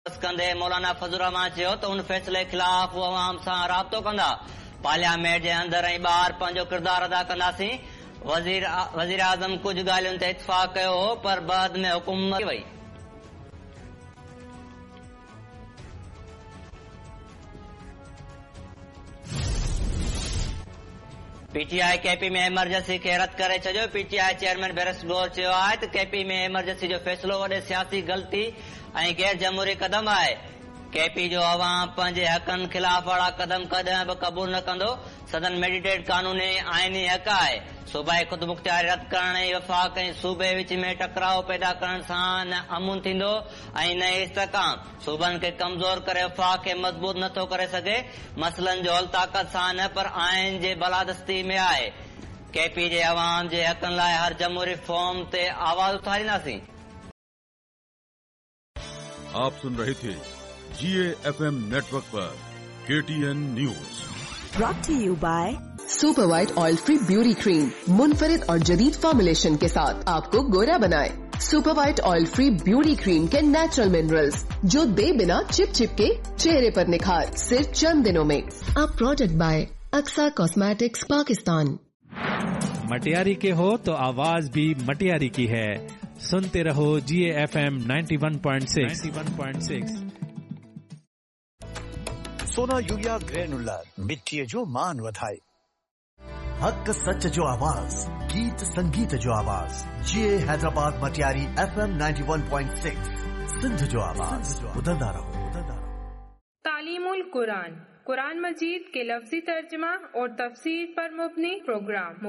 ڪندي مولانا فضل الرحمان چيو ته ان فيصلي خلاف هو عوام سان رابطو ڪندا، پارليامينٽ جي اندر ۽ ٻاهر پنهنجو ڪردار ادا ڪنداسين، وزيراعظم ڪجهه ڳالهين تي اتفاق ڪيو هو پر بعد ۾ حڪومت وئي. P T I K P ۾ emergency کي رد ڪري ڇڏيو، P T I chairman barrister Gohar چيو آهي ته ڪي پي ۾ ايمرجنسي جو فيصلو وڏي سياسي غلطي ۽ غير جمهوري قدم آهي، ڪي پي جو عوام پنهنجي حقن خلاف اهڙا قدم ڪڏهن به قبول نه ڪندو، سندن مينڊيٽ قانوني ۽ آئيني حق آهي، صوبائي خودمختياري رد ڪرڻ ۽ وفاق ۽ صوبي وچ ۾ ٽڪراء پيدا ڪرڻ سان نه امن ٿيندو ۽ نه ئي استحڪام، صوبن کي ڪمزور ڪري وفاق کي مضبوط نه ٿو ڪري سگهي، مسئلن جو حل طاقت سان نه پر آئين جي بالادستي ۾ آهي، ڪي پي جي عوام جي حقن لاء هر جمهوري فورم تي آواز اٿارينداسين. آپ سن رهي ٿي جي A F M network per K T N news. Brought to you by super white oil free beauty cream मुनफरिद और जदीद फॉर्मुलेशन के साथ आपको गोरा बनाए। Super white oil free beauty cream के नेचुरल मिनरल्स जो दे बिना चिप चिप के चेहरे पर निखार सिर्फ चंद दिनों में। A product by Aqsa cosmetics Pakistan. Matiari के हो तो आवाज भी मटियारी की है। सुनते रहो जी एफ एम 91.6 91.6। सोना यूरिया ग्रेनुलर मिटीअ जो मान वधाए। हक़ सच जो आवाज़, गीत संगीत जो आवाज़, जी ए हैदराबाद मटियारी एफ एम 91.6 सिंध जो आवाज़। ॿुधंदा रहो, ॿुधंदा रहो। तालीमुल कुरान, कुरान मजीद के लफ्जी तर्जमा और तफसीर पर मुबनी प्रोग्राम।